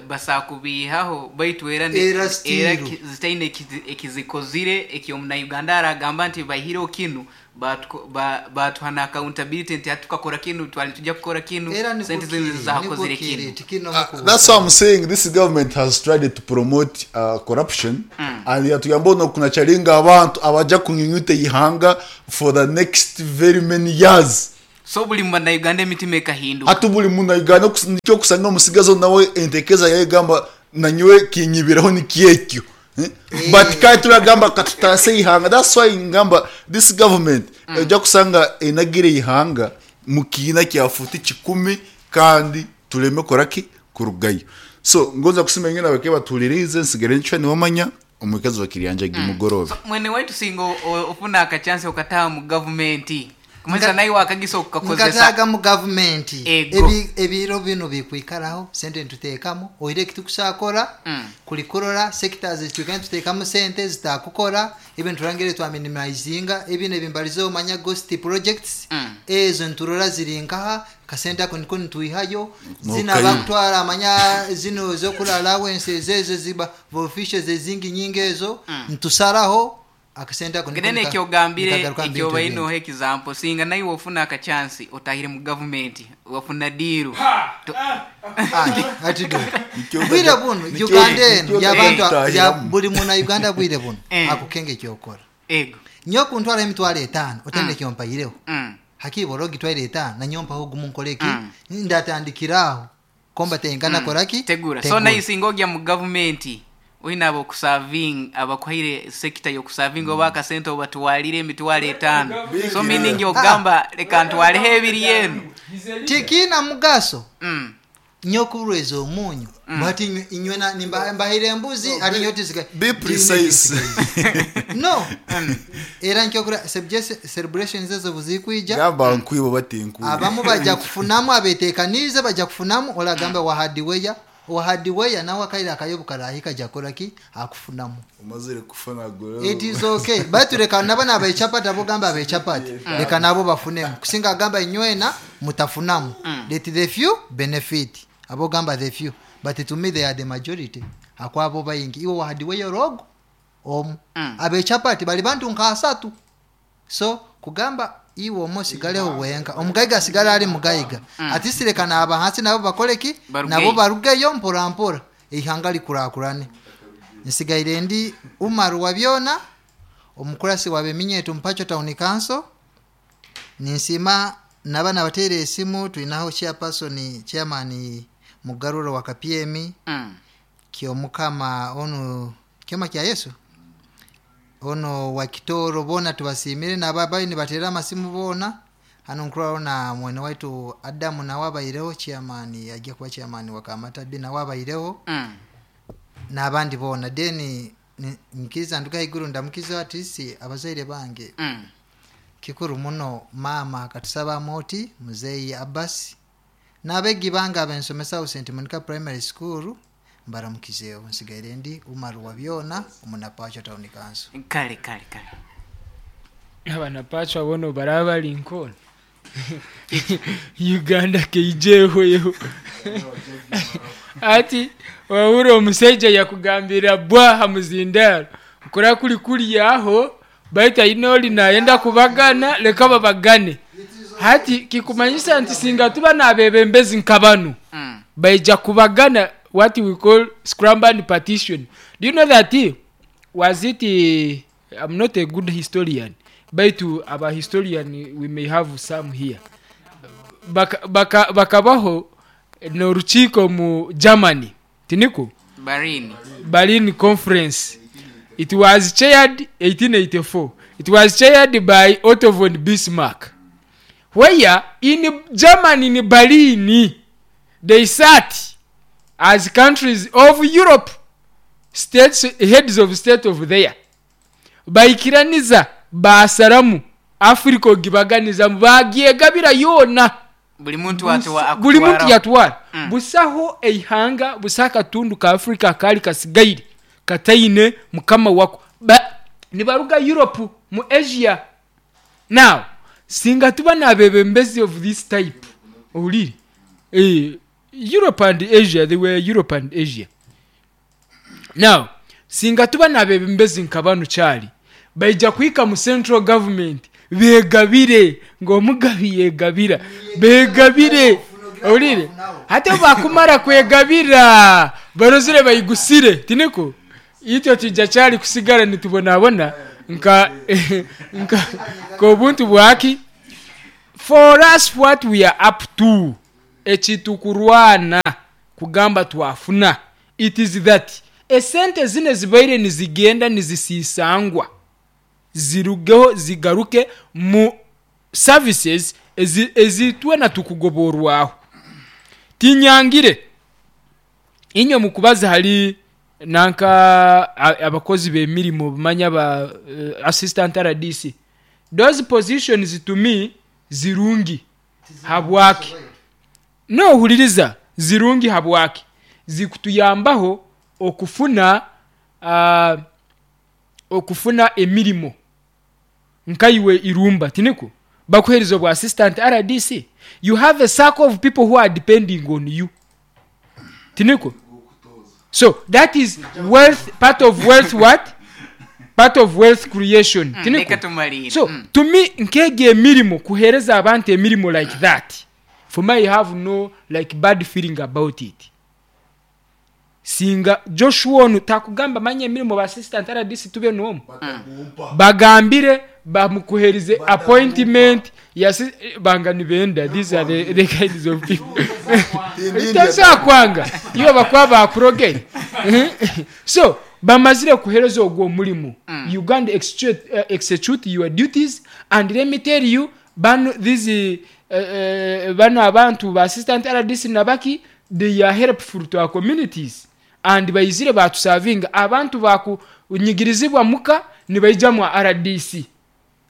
basakubihaho baitu era ne- Era era still. ki- zitaine ekizi- ekizikozire ekyomunauganda aragamba nti bahireho kinu batuko- ba- batuha na accountability nti hatukakora kinu twali tujja kukora kinu Era niko sente zinu kiri, zakozire niko kiri, kinu tikino Uh, that's why I'm saying this government has tried to promote uh, corruption mm. and yatugamba ono kunachalinga abantu abaja kunyunyuta ihanga for the next very many years so buli munauganda emitima ekahinduka hati buli munauganda okus- nikyo okusanga omusigazi nawe entekeza yayegamba nanyowe kinyibiraho nikyekyo Eh? But kandi turagamba katutase ihanga. That's why ngamba this government ejja kusanga enagire ihanga mu kiina kya futi kikumi kandi tuleme koraki kurugayo. So ngonza kusima ingene abake batulirize nsigare ncwe niwamanya omukazi wa Kiryanja gimugorobe. So, mwene waitu singa o- o- ofuna akachansi okataha mu gavumenti kumanyisa Nga- naye wakagisa okukakozesa nkataaga mu gavumenti. Ego. Ebi- ebiro bino bikwikaraho sente nituteekamu oire ekitukusakora Mm. kulikurora sectors zitwikara nituteekamu sente zitakukora ebi nturangire twaminimizinga ebino ebimbalize omanya ghost projects Mm. ezo nturora ziri nkaha kasente ako niko nitwihayo zina Nokayo. bakutwara amanya zino zokura allowance ezo ziba officials ezingi nyingi ezo ntusaraho akasente ako niko ngene nika- ekyogambire nikagaruka mu bintu ekyobaine ebindi. oha example singa naye wofuna akachansi otahire mu gavumenti wafuna diiru To- Ati, ati do. Nikyo Bwire ndaja- buno nikyo- Uganda eno nikyo yabantu ndaja ya kutahiramu. buli muna Uganda bwire buno Eh. akukenge kyokora ego nyo kuntwara emitwalo etaano otende kyompayireho Mm. hakiba ogitwara etaano nanyompaho gumu nkoleki Mm. ndatandikiraho komba tenkana koraki tegura so naye singa ogya mu gavumenti oyina abokusaving abakuhaire sekita yokusavinga oba akasente obatwalire emitwalo etaano so meaning ogamba leka ntwaleho ebiri eno tikina mugaso Mm. nyokurweza omunyu bati inywe- inywe na- nimba- mbahire embuzi ati nyo tisiga- Be precise. No, era nkyokura celebrations ezo buzikwija Gamba nkwibo batinkwibo. abamu bajja kufunamu abetekanize bajja kufunamu olagamba mm. wahadiweya wahadiweya nawe akaire akayobu karahika jakoraki akufunamu. Umazire kufuna golo. It is okay, baitu leka nabo nabechapati abogamba abechapati leka nabo bafunemu kusinga agamba inywena mutafunamu. Let the few benefit, abogamba the few, but to me they are the majority akwabo bayingi iwe wahadiweya rogo omu Mm. abechapati bali bantu nka asatu. So kugamba iwe omu osigaleho wenka, omugaiga asigale ali mugaiga mm. Ati naba hansi nabo bakoleki. Barugeyo. Nabo barugeyo mpora mpora eihanga likurakurane. Nsigaire ndi Umaru wa byona omukurasi wa beminyeto mpacho town council. Ninsima naba nabateera esimu tulinaho chairperson chairman Mugaruro wa K P M Mm. Kyomukama ono kyoma kya Yesu ono wa Kitoro bona tubasimire nababayi nibatera amasimu bona hano nkurwaho na mwene waitu Adamu nawe abaireho chairman ajja kuba chairman wa Kamatabi nawe abaireho Mm. n'abandi bona then ni- nkiriza nduga haiguru ndamukiza atisi abazaire bange Mm. kikuru muno mama akatusaba moti muzeyi Abbas n'abegi bange abensomesa Saint Monica Primary School mbaramukizeeho. Nsigaire ndi Umaru wa byona omunapacho town council. Kale kale kale. Abanapacho abono baraba bali nkono Uganda keijehweho ati wahura omusajja yakugambira bwaha muzindaro kura kuli kulyaho baitu aine oli nayenda kubagana leka babagane. Hati kikumanyisa nti singa tuba nabebembezi nka banu Mm. baija kubagana, what we call scramble and partition. Do you know that eh, was it eh, I'm not a good historian, baitu aba historian we may have some here. Baka- baka- bakabaho n'orukiiko mu Germany tiniko Barini. Berlin Conference. It was chaired eighteen eighty-four. It was chaired by Otto von Bismarck, where in Germany, in Berlin, they sat as countries of Europe, states, heads of state of there baikiraniza basaramu Africa ogibaganizamu bagyegabira yona. Buli muntu atwa- Buli muntu akutwara- yatwara Mm. busaho eihanga busaho akatundu ka Afrika kali kasigaire kataine mukama wako. Ba, nibaruga Europe mu Asia. Now singa tuba nabebembezi of this type Ohulire eh, Europe and Asia, they were Europe and Asia. Now singa tuba nabebembezi nka banu kyali baija kuhika mu central government begabire, ng'omugabi yegabira, begabire. Ohulire hati bakumara kwegabira barozire bayigusire, tiniko ityo tujja kyali kusigara nitubonabona nka nka kobuntu bwaki. For us what we are up to, ekitukurwana kugamba twafuna, it is that esente zine zibaire nizigenda nizisisangwa zirugeho zigaruke mu services ezitwe na tukugoborwaho. Tinyangire inyo mukubaza hali nanka abakozi b'emirimo bamanya ba uh, assistant R D C, those positions to me zirungi habwaki no huliriza zirungi habwaki zikutuyambaho okufuna uh, okufuna emirimo nkaiwe irumba tiniko bakuhereza bwa assistant R D C. You have a circle of people who are depending on you, tiniko. So that is wealth, part of wealth what? Part of wealth creation. Mm, tiniko. So mm. to me nkege emirimo kuhereza abantu emirimo like that, for me I have no like bad feeling about it. Singa Joshua onu takugamba manye emirimo ba assistant R D C tube nomu mm. bagambire bamukuherize appointment ya banga nibenda. These are the, the kinds of people itasa kwanga iyo bakwa bakurogere. So bamazire kuhereza ogwo mulimu. mm. Uganda execute, uh, execute your duties, and let me tell you bano these uh, uh, bano abantu ba assistant R D C nabaki, they are helpful to our communities and bayizire batusavinga abantu bakunyigirizibwa muka nibaija mu R D C.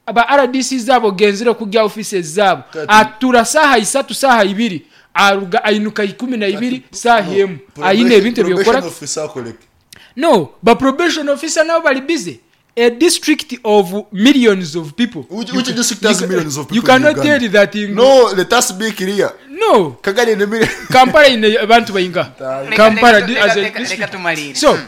Aba R D C zabo genzire kujya offices zabo atura saha isatu saha ibiri aruga ainuka ikumi na ibiri saha emu aine ebintu byokora. No, but probation officer now bali busy. A district of millions of people. Which, which district has millions of people? You cannot tell that in... No, let us be clear. No. Kagali in a million. Kampala in abantu bayinga. Kampala as a district. So,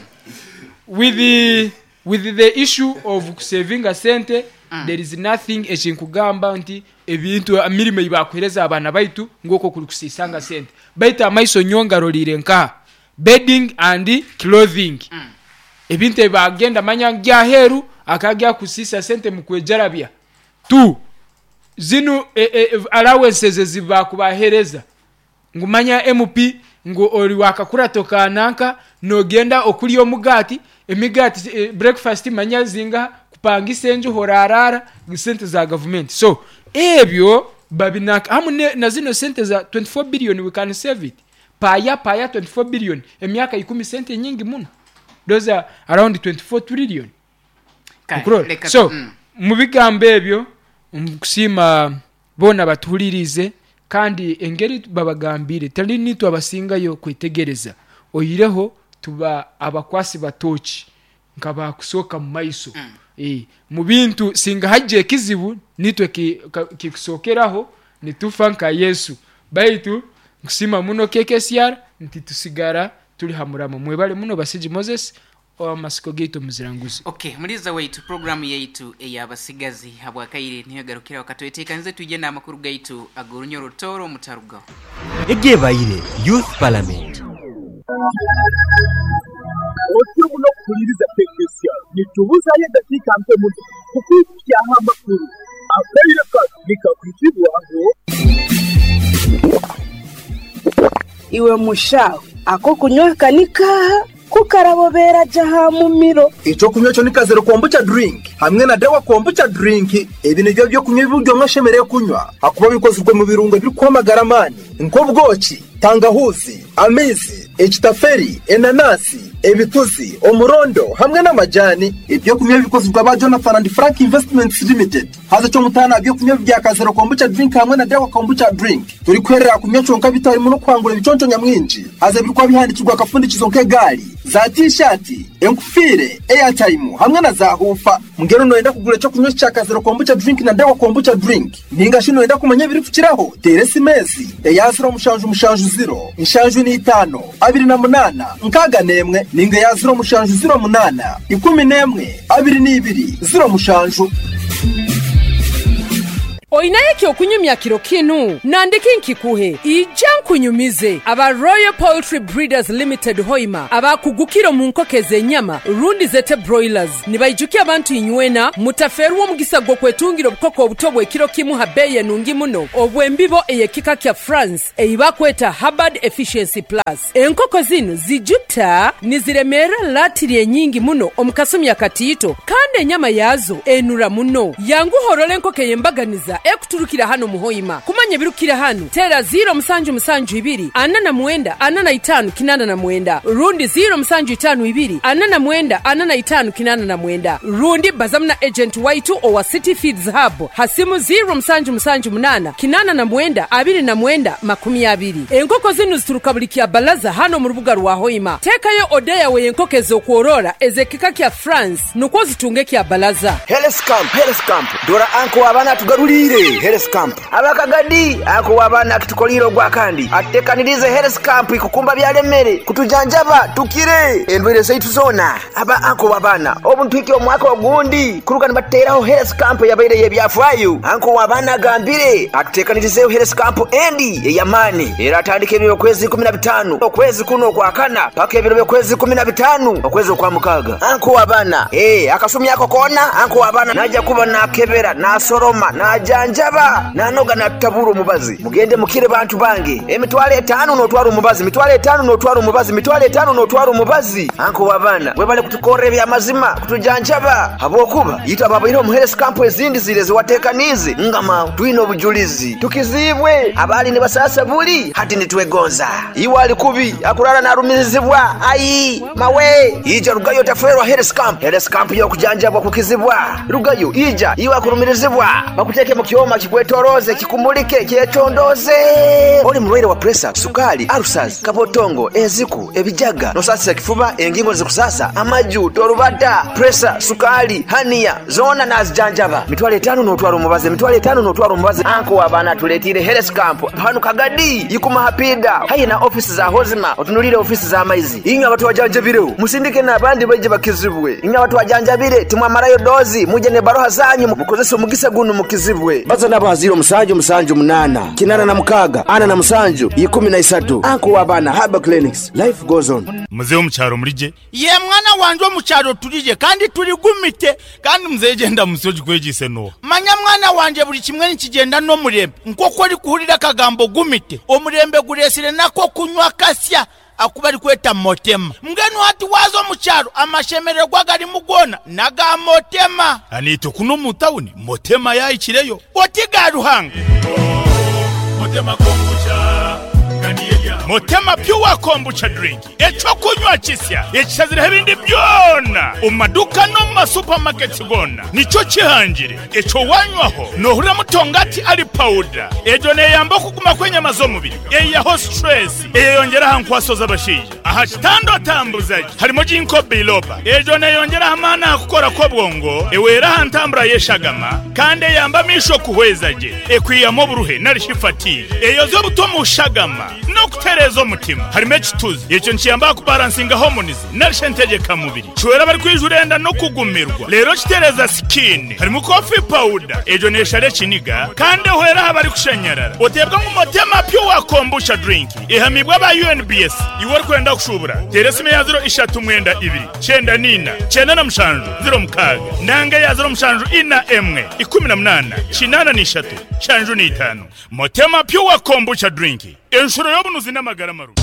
with the with the issue of saving a cent, mm. there is nothing ekinkugamba nti ebintu emirimo ibakuhereza abana baitu ngoko kuri kusisanga sente. Baita amaiso nyonga rolire nka bedding and clothing. Mm. Ebintu ebagenda manya gyaheru akagya kusisa sente mukwejarabya. Two, zinu e, e, allowances zibakubahereza. Ngumanya M P ngo oli wakakura tokananka nogenda okuli omugati emigati e, breakfast manya zinga kupangisa enju horarara sente za government. So ebyo babinaka hamu na zino sente za twenty-four billion we can save it. Paya paya twenty-four billion emyaka ikumi sente nyingi muno. Those are around twenty-four trillion. Kale, so mm. mu bigambo ebyo nkusima bona batuhulirize kandi engeri babagambire tali nitwe abasingayo kwetegereza oyireho tuba abakwasi batoki nkaba kusoka mu maiso. mm. E, mu bintu singa hajje ekizibu nitwe kikusokeraho nitufa nka Yesu. Baitu nkusima muno K K C R nti tusigara tuli hamuramo. Mwebale muno Basigi Moses amasiko gaitu muziranguzi. Okay, muliza waitu programu yaitu ey'abasigazi habwakaire niyo garukira wakatwetekanze tuje n'amakuru gaitu agorunyoro toro mutarugaho. Egebaire Youth Parliament. Otyo muno kuhuliriza K K C R nitubuzayo eddakiika mpe muno kukwikyaho amakuru akaire kano nikakwitibwaho. Iwe mushawe ako kunywa kanika kukarabobera jaha mumiro. Ico kunywa cyo nikazero kombucha drink hamwe na dawa kombucha drink. Ebi nibyo byo kunywa ibyo mwashemereye kunywa hakuba bikozwe mu birungo biri kwamagara mani nk'ubwoki, tangahuzi, amizi, ekitaferi, enanasi, Ebituzi, omurondo hamwe n'amajani. Ebyokunywa bikozirwa ba Jonathan and Frank Investments Limited. Haza cyo mutana ebyokunywa bya Kazero kombucha drink hamwe na Dawa kombucha drink. Turi kwerera kunywa conka bitarimo no kwangura ibiconco nyamwinji. Haza birikwa bihandikirwa akafundikizo nk'egali, za t-shirt, enkufire, airtime hamwe na za hufa. Mungero noenda kugura cyo kunywa cya Kazero kombucha drink na Dawa kombucha drink. Ninga shino enda kumanya biri kukiraho. Tere simezi. Eya zero mushanju mushanju zero. Inshanju ni itano. Abiri na munana. Nkaga nemwe. Ninga ya zero mushanju zero munana. Ikumi nemwe. Abiri n'ibiri. Zero mushanju. Oinaye okunyumya kiro kinu nandiki nkikuhe ija nkunyumize aba Royal Poultry Breeders Limited Hoima abakugukiro mu nkoko ez'enyama rundi zete broilers nibaijukia abantu inywena mutaferwa omugisa gw'okwetungira obukoko obuto bw'ekiro kimu ha beeye nungi muno obw'embibo ey'ekika kya France eibakweta Hubbard Efficiency Plus. Enkoko zinu zijuta niziremera latiri enyingi muno omukasumi akatiito kandi enyama yazo enura muno. Yanguhorole enkoko ey'embaganiza ekuturukira hano muhoima. Kumanya birukira hano tera zero musanju musanju ibiri ana na mwenda ana na itanu kinana na mwenda rundi zero musanju itanu ibiri ana na mwenda ana na itanu kinana na mwenda rundi bazamna agent waitu owa City Feeds Hub hasimu zero musanju musanju munana kinana na mwenda abiri na mwenda makumi abiri. Enkoko zinu zituruka buli kya balaza hano mu rubuga rwa Hoima. Tekayo odeya we enkoko ez'okworora ezekika kya France nukwo zitunge kya balaza. Health Camp, Health Camp dora anko abana tugarulire Health Camp abakagadi ako wabana akitukoliro gwa kandi atekanirize Health Camp ikukumba byalemere kutujanjaba tukire endwere zaitu zona aba anko wabana obuntu iki omwaka ogundi kuruka nibateraho Health Camp yabaire yebyafwayo anko wabana gambire atutekanirize Health Camp endi eyamani era atandike ebiro kwezi kumi na bitano okwezi kuno kwakana paka ebiro kwezi kumi na bitano okwezi kwa mukaga anko wabana eh akasumi yako kona anko wabana naja kuba nakebera nasoroma najanjaba nanoga natabura omubazi mugende mukire bantu bange emitwale etano notwara omubazi mitwale etano notwara omubazi mitwale etano notwara omubazi anko wabana webale kutukorera ebyamazima kutujanjaba habwokuba yita babaire mu Health Camp ezindi zire ziwatekanize ngama twine obujulizi tukizibwe abali ne basasa buli hati nitwegonza iwe ali kubi akurara narumirizibwa ayi mawe ija rugayo taferwa Health Camp Health Camp yo kujanjabwa kukizibwa rugayo ija iwe akurumirizibwa bakuteke mu kioma kikwetoroze kikumulike kyetondoze oli mulwaire wa pressure sukali ulcers kabotongo eziku ebijaga nosasa kifuba engingo zikusasa amaju torubata pressure sukali hania zona nazijanjaba mitwale etano notwara omubazi mitwale etano notwara omubazi anko wabana tuletire Health Camp hanu kagadi yikuma hapida haye na office za hozima otunulire office za maizi inga watu wajanjabire musindike n'abandi baje bakizibwe inga watu wajanjabire timwamarayo dozi muje ne baroha zanyu mukozesa omugisa guno mukizibwe baza nabo zero musanju musanju munana kinana na mukaga ana na musanju ikumi na isatu anko wabana Haba Clinics life goes on. Mzee omukyalo mulije ye mwana wanje omukyalo tulije kandi tuligumite kandi mzee genda musoji kwegise no manya mwana wanje buli kimwe nikigenda n'omurembe nk'oku ori kuhurira akagambo gumite omurembe guresire nako kunywa kasya akubali kweta motema mgeni wati wazo mukyalo amashemererwa gari mugona naga motema anito kuno mu town motema yayikireyo otiga ruhanga motema kombucha Motema pure kombucha drink echokunywa kisya ekisazira ebindi byona omumaduka no mu supermarkets gona nico kihangire echo wanywaho nohurira mutongati ali powder ejo neyamba okuguma kwenyama z'omubiri eyaho stress eyeyongera hankwaso z'abashaija aha kitando tambuzaji harimo jinko biloba ejo neyongera amaana akukora kw'obwongo ewera hantambura yeshagama kandi eyamba misho kuhwezaje ekwiyamo oburuhe narishifati eyoza obutomu ushagama no kutereza omutima harimo ekituzi ekyo nkiyamba kubalansinga hormones narishentegeka mubiri kiwera bari kwijurenda no kugumirwa rero kitereza skin harimo coffee powder ejo neshare kiniga kandi ehwera abari kushenyerera otebwa mu motema pure kombucha drink ihamibwa ba U N B S iwe kwenda kushubura teresime ya zero ishatu mwenda ibiri cyenda nina cyenda na mushanju zero mukaga nanga ya zero mushanju ina emwe ikumi na munana kinana n'ishatu shanju n'itanu motema pure kombucha drink enshuro y'obunuzi n'amagara maru.